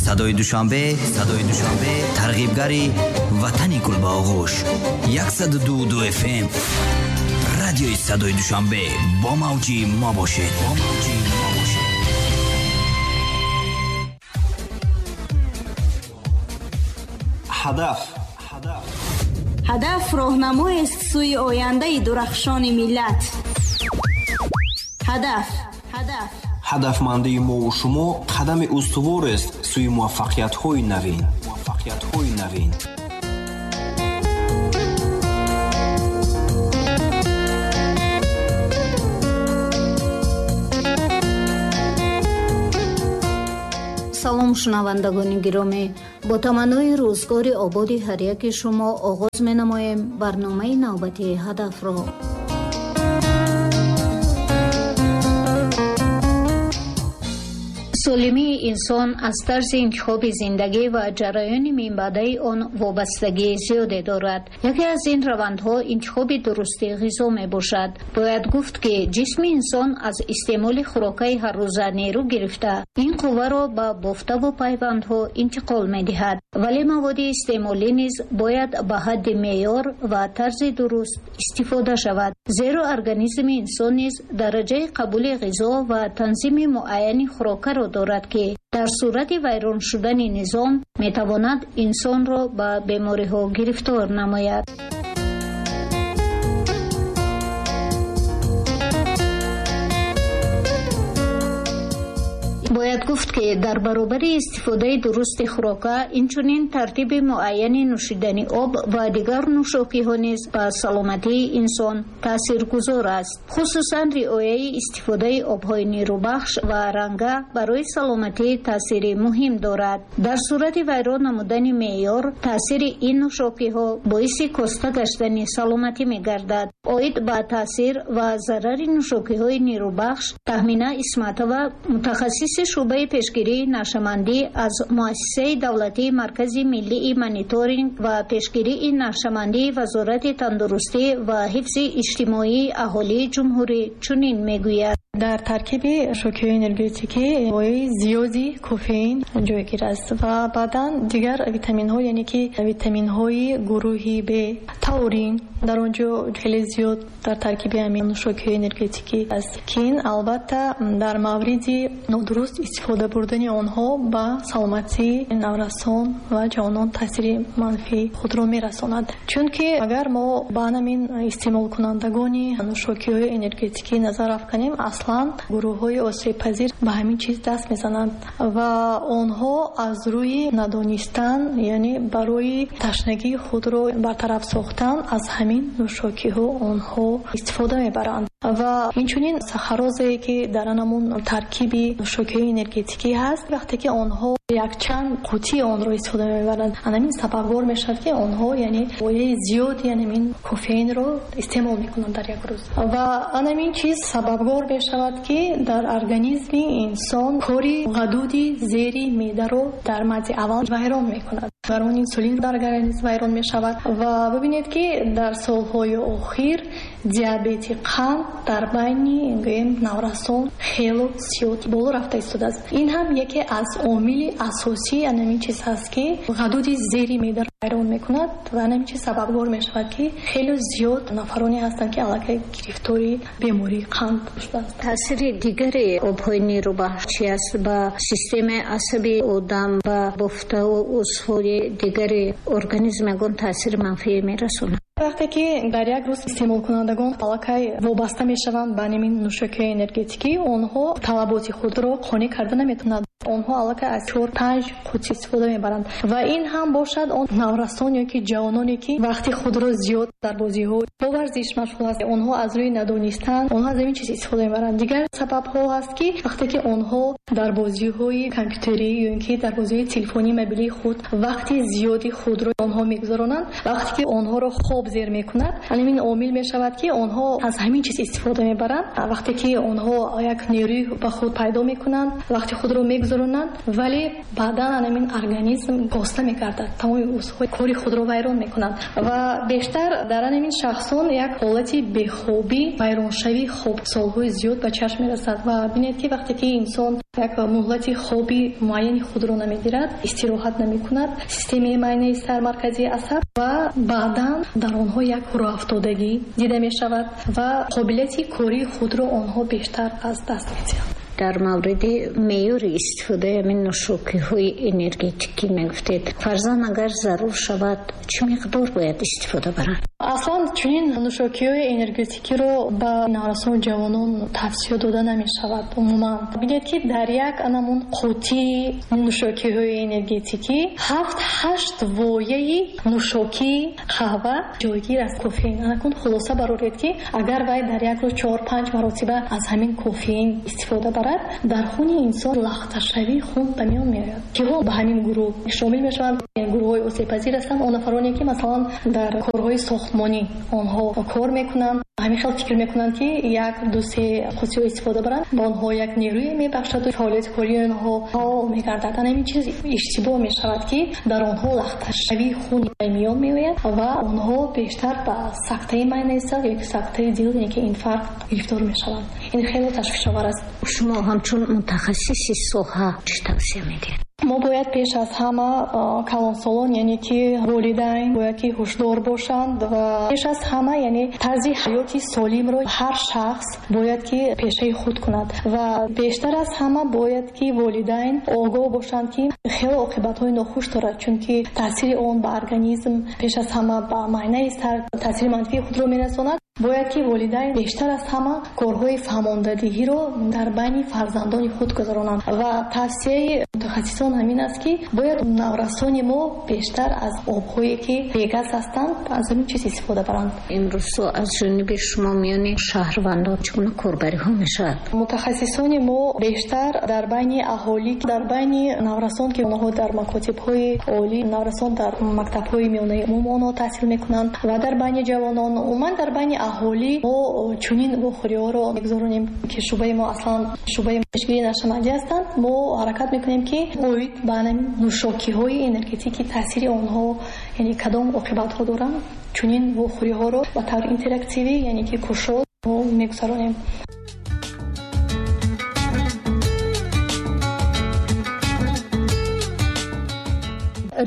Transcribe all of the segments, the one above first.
Садои Душанбе, Садои Душанбе, тарғибгари ватани гул ба оғӯш. 102.2 FM. Радиои Садои Душанбе бо мавҷи мо бошед. Бо мавҷи мо бошед. Ҳадаф. Ҳадаф роҳнамоест сӯи ояндаи дурахшони миллат. Ҳадаф. Ҳадаф. Ҳадафмандии мову шумо қадами устуворест сӯи муваффақиятҳои навин. Муваффақиятҳои навин. Салом шунавандагони гиромӣ. Бо таманнои рӯзгори ободи ҳар яки шумо оғоз менамоем барномаи навбатии ҳадафро. Солимии инсон аз тарзи интихоби зиндагӣ ва ҷараёни минбаъдаи он вобастагии зиёде дорад. Яке аз ин равандҳо интихоби дурусти ғизо мебошад. Бояд гуфт, ки ҷисми инсон аз истеъмоли хӯрокаи ҳаррӯза нерӯ гирифта, ин қувваро ба бофтаву пайвандҳо интиқол медиҳад. Вале маводи истеъмолӣ низ бояд ба ҳадди меъёр ва тарзи дуруст истифода шавад, зеро организми инсон низ дараҷаи қабули ғизо ва танзими муайяни хӯрокаро дорад, ки дар сурати вайрон шудани низом метавонад инсонро ба бемориҳо гирифтор намояд. Бояд гуфт, ки дар баробари истифодаи дурусти хӯрока инчунин тартиби муайяни нӯшидани об ва дигар нӯшокиҳо низ ба саломатии инсон таъсиргузор аст. Хусусан риояи истифодаи обҳои нерӯбахш ва ранга барои саломатӣ таъсири муҳим дорад. Дар сурати вайрон намудани меъёр таъсири ин нӯшокиҳо боиси коста гаштани саломатӣ мегардад. Оид ба таъсир ва зарари нӯшокиҳои нерӯбахш Таҳмина Исматова, мутахассиси шӯъбаи пешгирии нашъамандӣ аз Муассисаи давлатии Маркази миллии мониторинг ва пешгирии нашъамандии Вазорати тандурустӣ ва ҳифзи иҷтимоии аҳолии ҷумҳурӣ чунин мегӯяд. Дар таркиби нӯшокиҳои энергетикӣ моеи зиёди кофеин ҷойгир аст ва баъдан дигар витаминҳо, яъне ки витаминҳои гурӯҳи Б, таурин дар он ҷо хеле зиёд дар таркиби ҳамин нӯшокиҳои энергетикӣ аст, ки ин албатта дар мавриди нодуруст истифода бурдани онҳо ба саломатии наврасон ва ҷавонон таъсири манфии худро мерасонад. Чунки агар мо ба ҳамин истеъмолкунандагони нӯшокиҳои энергетикӣ назар афканем, аслан гурӯҳҳои осебпазир ба ҳамин чиз даст мезананд ва онҳо аз рӯи надонистан, яъне барои ташнагии худро бартараф сохтан, аз ҳамин нӯшокиҳо онҳо истифода мебаранд. Ва инчунин сахарозае, ки дар анамун таркиби нӯшокиҳои энергетикӣ ҳаст, вақте ки онҳо якчанд қутии онро истифода мебаранд, ҳамин сабабгор мешавад, ки онҳо яъне моеи зиёди ҳамин кофеинро истеъмол мекунанд дар як рӯз. Ва ҳамин чиз сабабгор мешавад, ки дар организми инсон кори ғадуди зери меъдаро дар мадди аввал вайрон мекунад. Гормони инсулин дар организм вайрон мешавад. Ва бибинед, ки дар солҳои охир диабети қанд дар байни гӯем наврасон хело зиёд боло рафта истодааст. Ин ҳам яке аз омили асосии ҳамин чиз ҳаст, ки ғадуди зери меъдаро вайрон мекунад ва ҳамин чиз сабабгор мешавад, ки хеле зиёд нафароне ҳастанд, ки аллакай гирифтори бемории қанд шудаанд. Таъсири дигари обҳои нерӯбахш чи аст ба системаи асаби одам, ба бофтаву узвҳои дигари организм ягон таъсири манфӣ мерасонад? Вақте ки дар як рӯз истеъмолкунандагон аллакай вобаста мешаванд ба ҳамин нӯшокиҳои энергетикӣ, онҳо талаботи худро қонеъ карда наметавонанд. Онҳо аллакай аз 4-5 қутӣ истифода мебаранд ва ин ҳам бошад он наврасон ё ки ҷавононе, ки вақти худро зиёд дар бозиҳо бо варзиш машғул ҳаст, онҳо аз рӯи надонистан онҳо аз ҳамин чиз истифода мебаранд. Дигар сабабҳо ҳаст, ки вақте ки онҳо дар бозиҳои компютерӣ ё ин ки дар бозиҳои телефонии мобилии худ вақти зиёди худро онҳо мегузаронанд, вақте ки онҳоро хоб зер мекунад, ҳамин омил мешавад, ки онҳо аз ҳамин чиз истифода мебаранд. Вақте ки онҳо як нерӯи ба худ пайдо мекунанд, вақти худро мегузаронанд, вале баъдан ҳамин организм коста мегардад, тамоми узвҳои кори худро вайрон мекунанд ва бештар дар ҳамин шахсон як ҳолати бехобӣ, вайроншавии хоб солҳои зиёд ба чашм мерасад. Ва бинед, ки вақте ки инсон як муҳлати хоби муайяни худро намегирад, истироҳат намекунад, системаи майнаи сар, марказии асаб ва баъдан дар онҳо як рӯафтодагӣ дида мешавад ва қобилияти кории худро онҳо бештар аз даст медиҳанд. Дар мавриди меъёри истифодаи ҳамин нӯшокиҳои энергетикӣ мегуфтед, фарзан агар зарур шавад, чӣ миқдор бояд истифода баранд? Аслан чунин нӯшокиҳои энергетикиро ба наврасон, ҷавонон тавсия дода намешавад умуман. Бинед, ки дар як анамун қутии нӯшокиҳои энергетикӣ 7-8 вояи нӯшокии қаҳва ҷойгир аст, кофеин. Анакун хулоса бароред, ки агар вай дар як рӯз 4-5 маротиба аз ҳамин кофеин истифода барад, дар хуни инсон лахташавии хун ба миён меояд. Киҳо ба ҳамин гурӯҳ шомил мешаванд? Гурӯҳҳои осебпазир ҳастанд он нафароне, ки масалан дар корҳои сохтмонӣ онҳо кор мекунанд, ҳамин хел фикр мекунанд, ки 1-2-3 қутиҳо истифода баранд, ба онҳо як нерӯе мебахшад ва фаъолияти кории онҳо фаъол мегардад. Ҳамин чиз иштибоҳ мешавад, ки дар онҳо лахташавии хун ба миён меояд ва онҳо бештар ба сактаи майнаи сар ё сактаи дил, яъне ки инфаркт гирифтор мешаванд. Ин хеле ташвишовар аст. Шумо ҳамчун мутахассиси соҳа чӣ тавсия медиҳед? Мо бояд пеш аз ҳама калонсолон, яъне ки волидайн бояд ки ҳушдор бошанд ва пеш аз ҳама, яъне тарзи ҳаёти солимро ҳар шахс бояд ки пешаи худ кунад ва бештар аз ҳама бояд ки волидайн огоҳ бошанд, ки хеле оқибатҳои нохуш дорад, чунки таъсири он ба организм, пеш аз ҳама ба майнаи сар таъсири манфии худро мерасонад. Бояд ки волидайн бештар аз ҳама корҳои фаҳмондадиҳиро дар байни фарзандони худ гузаронанд ва тавсияи мутахассисон ҳамин аст, ки бояд наврасони мо бештар аз обҳое, ки бегаз ҳастанд, аз ҳамин чиз истифода баранд. Имрӯзҳо аз ҷониби шумо миёни шаҳрвандон чӣ гуна корбариҳо мешавад? Мутахассисони мо бештар дар байни аҳолӣ, дар байни наврасон, ки онҳо дар макотибҳои олӣ, наврасон дар мактабҳои миёнаи умум онҳо таҳсил мекунанд ва дар байни ҷавонон, умуман дар байни аҳолӣ мо чунин вохӯриҳоро мегузаронем, ки шӯъбаи мо аслан шӯъбаи пешгирии нашъамандӣ ҳастанд. Мо ҳаракат мекунем, ки оид ба нӯшокиҳои энергетикӣ таъсири онҳо, яъне кадом оқибатҳо доранд, чунин вохӯриҳоро ба таври интерактивӣ, яъне ки кушод мо мегузаронем.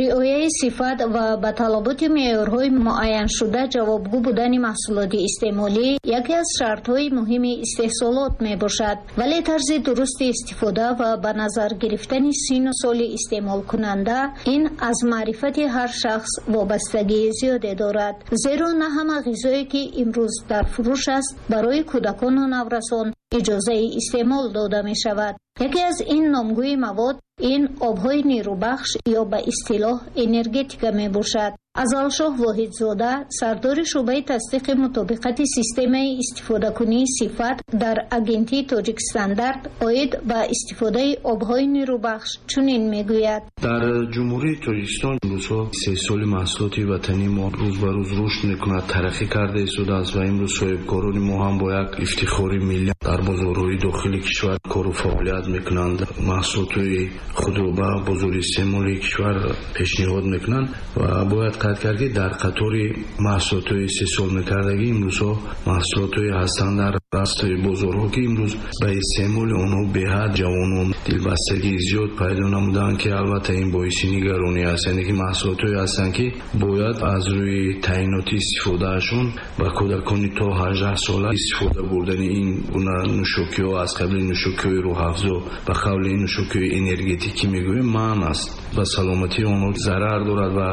Риояи сифат ва ба талаботи меъёрҳои муайяншуда ҷавобгӯ будани маҳсулоти истеъмолӣ яке аз шартҳои муҳими истеҳсолот мебошад, вале тарзи дурусти истифода ва ба назар гирифтани синну соли истеъмолкунанда ин аз маърифати ҳар шахс вобастагии зиёде дорад, зеро на ҳама ғизое, ки имрӯз дар фурӯш аст, барои кӯдакону наврасон иҷозаи истеъмол дода мешавад. Яке аз ин номгӯи мавод ин обҳои нерӯбахш ё ба истилоҳ энергетика мебошад. Азалшоҳ Воҳидзода, сардори шӯъбаи тасдиқи мутобиқати системаи истифодакунии сифат дар Агентии Тоҷикстандарт оид ба истифодаи обҳои нерӯбахш чунин мегӯяд. Дар Ҷумҳурии Тоҷикистон имрӯзҳо истеҳсоли маҳсулоти ватании мо рӯз ба рӯз рушд мекунад, тараққӣ карда истодааст ва имрӯз соҳибкорони мо ҳам бо як ифтихори миллӣ дар бозорҳои дохили кишвар кору фаъолият мекунанд, маҳсулотҳои худро ба бозори истеъмоли кишвар пешниҳод мекунанд ва бояд қайд кард, ки дар қатори маҳсулотҳои истеҳсол мекардагӣ имрӯзҳо маҳсулотҳое ҳастанд дар растаи бозорҳо, ки имрӯз ба истеъмоли онҳо беҳад ҷавонон дилбастагии зиёд пайдо намуданд, ки албатта ин боиси нигаронӣ аст. Яъне ки маҳсулотҳое ҳастанд, ки бояд аз рӯи таъиноти истифодаашон ба кӯдакони то 18 сола истифода бурдани ин гуна нӯшокиҳо аз қабили нӯшокиҳои рӯҳафзо, ба қавли ин нӯшокиҳои энергетикӣ мегӯем, манъ аст, ба саломатии онҳо зарар дорад ва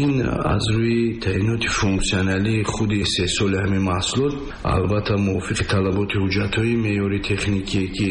ин аз рӯи таъиноти функсионалии худи истеҳсоли ҳамин маҳсулот албатта мувофиқи талаботи ҳуҷҷатҳои меъёри техникие, ки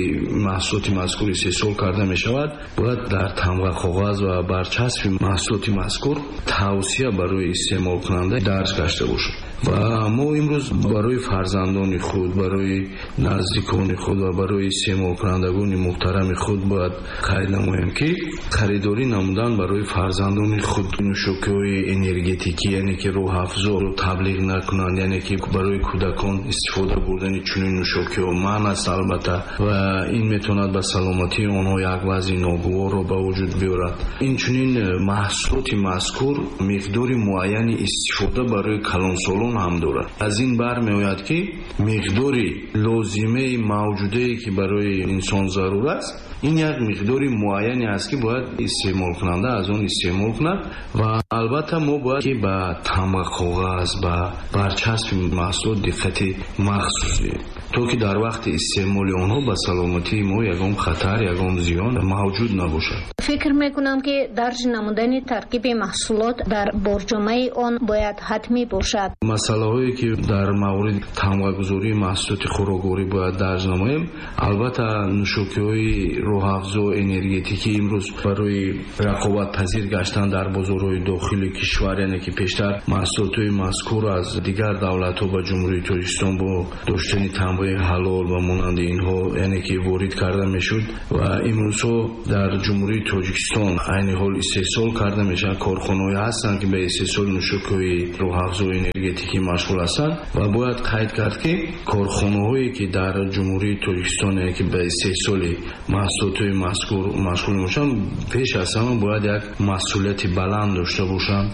маҳсулоти мазкур истеҳсол карда мешавад, бояд дар тамға, коғаз ва барчаспи маҳсулоти мазкур тавсия барои истеъмолкунанда дарҷ гашта бошад. Ва мо имрӯз барои фарзандони худ, барои наздикон Наздикони худ ва барои истеъмолкунандагони муҳтарами худ бояд қайд намоем, ки харидорӣ намудан барои фарзандони худ нӯшокиҳои энергетикӣ, яъне ки рӯҳафзоро таблиғ накунанд, яъне ки барои кӯдакон истифода бурдани чунин нӯшокиҳо манъ аст албатта, ва ин метавонад ба саломатии онҳо як вазъи ногуворро ба вуҷуд биёрад. Инчунин маҳсулоти мазкур миқдори муайяни истифода барои калонсолон ҳам дорад. Аз ин бармеояд, ки миқдори лозимаи мавҷудае, ки барои инсон зарур аст, ин як миқдори муайяне аст, ки бояд истеъмолкунанда аз он истеъмол кунад. Ва албатта мо бояд ки ба тамғақоғаз, ба барчаспи маҳсулот диққати махсус диҳем, то ки дар вақти истеъмоли онҳо ба саломатии мо ягон хатар, ягон зиён мавҷуд набошад. Фикр мекунам, ки дарҷ намудани таркиби маҳсулот дар борҷомаи он бояд ҳатмӣ бошад. Масъалаҳое, ки дар мавриди тамғагузории маҳсулоти хӯрокворӣ бояд дарҷ намоем, албатта нӯшокиҳои рӯҳафзо энергетикӣ имрӯз барои рақобатпазир гаштан дар бозорҳои дохили кишвар, яъне ки пештар маҳсулотҳои мазкур аз дигар давлатҳо ба Ҷумҳурии Тоҷикистон бо доштани тамғаи ҳалол ва монанди инҳо, яъне ки ворид карда мешуд, ва имрӯзҳо дар Ҷумҳурии Тоҷикистон айни ҳол истеҳсол карда мешаванд. Корхонаҳое ҳастанд, ки ба истеҳсоли нӯшокиҳои рӯҳафзо энергетикӣ машғул ҳастанд, ва бояд қайд кард, ки корхонаҳое, ки дар Ҷумҳурии Тоҷикистон, яъне ки ба истеҳсоли маҳсулотҳои мазкур машғул мебошанд, пеш аз ҳама бояд як масъулияти баланд дошта бошанд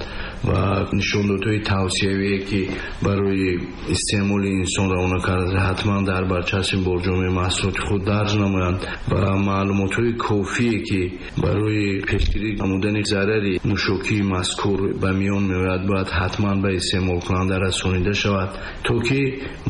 ва нишондодҳои тавсиявие, ки барои истеъмоли инсон равона карда, ҳатман дар барчаспи борҷомаи маҳсулоти худ дарҷ намоянд ва маълумотҳои кофие, ки барои пешгирӣ намудани зарари нӯшокии мазкур ба миён меояд, бояд ҳатман ба истеъмолкунанда расонида шавад, то ки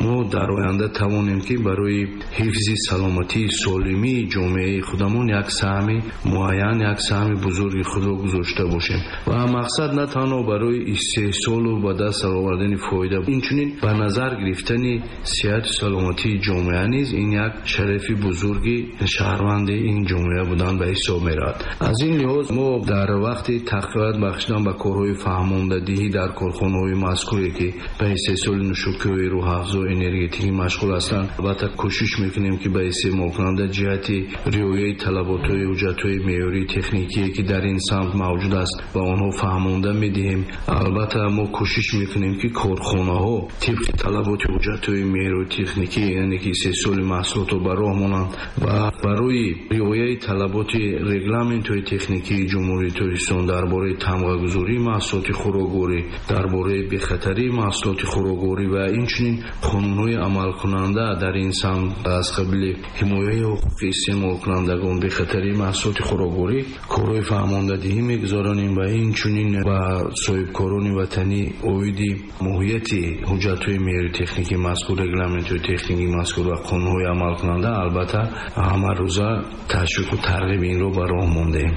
мо дар оянда тавонем, ки барои ҳифзи саломатии солимии ҷомеаи худамон як саҳми муайян, як саҳми бузурги худро гузошта бошем. Ва мақсад на танҳо барои истеҳсолу ба даст овардани фоида, инчунин ба назар гирифтани сиҳату саломатии ҷомеа низ ин як шарафи бузурги шаҳрванди ин ҷомеа будан ба ҳисоб меравад. Аз ин лиҳоз мо дар вақти тақвият бахшидан ба корҳои фаҳмондадиҳӣ дар корхонаҳои мазкуре, ки ба истеҳсоли нӯшокиҳои рӯҳафзо энергетикӣ машғул ҳастанд, албатта кӯшиш мекунем, ки ба истеъмолкунанда ҷиҳати риояи талаботҳои ҳуҷҷатҳои меъёрии техникие, ки дар ин самт мавҷуд аст, ба онҳо фаҳмонда медиҳем. Албатта мо кӯшиш мекунем, ки корхонаҳо тибқи талаботи ҳуҷҷатҳои меъёрии техникӣ, яъне ки истеҳсоли маҳсулотро ба роҳ монанд ва барои риояи талаботи регламентҳои техникии Ҷумҳурии Тоҷикистон дар бораи тамғагузории маҳсулоти хӯрокворӣ, дар бораи бехатарии маҳсулоти хӯрокворӣ ва инчунин қонунҳои амалкунанда дар ин самт аз қабили ҳимояи ҳуқуқи истеъмолкунандагон, бехатарии маҳсулоти хӯрокворӣ корҳои фаҳмондадиҳӣ мегузаронем ва инчунин ба соҳибкорони ватанӣ оиди моҳияти ҳуҷҷатҳои меъёрии техникии мазкур, регламентҳои техникии мазкур ва қонунҳои амалкунанда албатта ҳамарӯза ташвиқу тарғиби инро ба роҳ мондаем.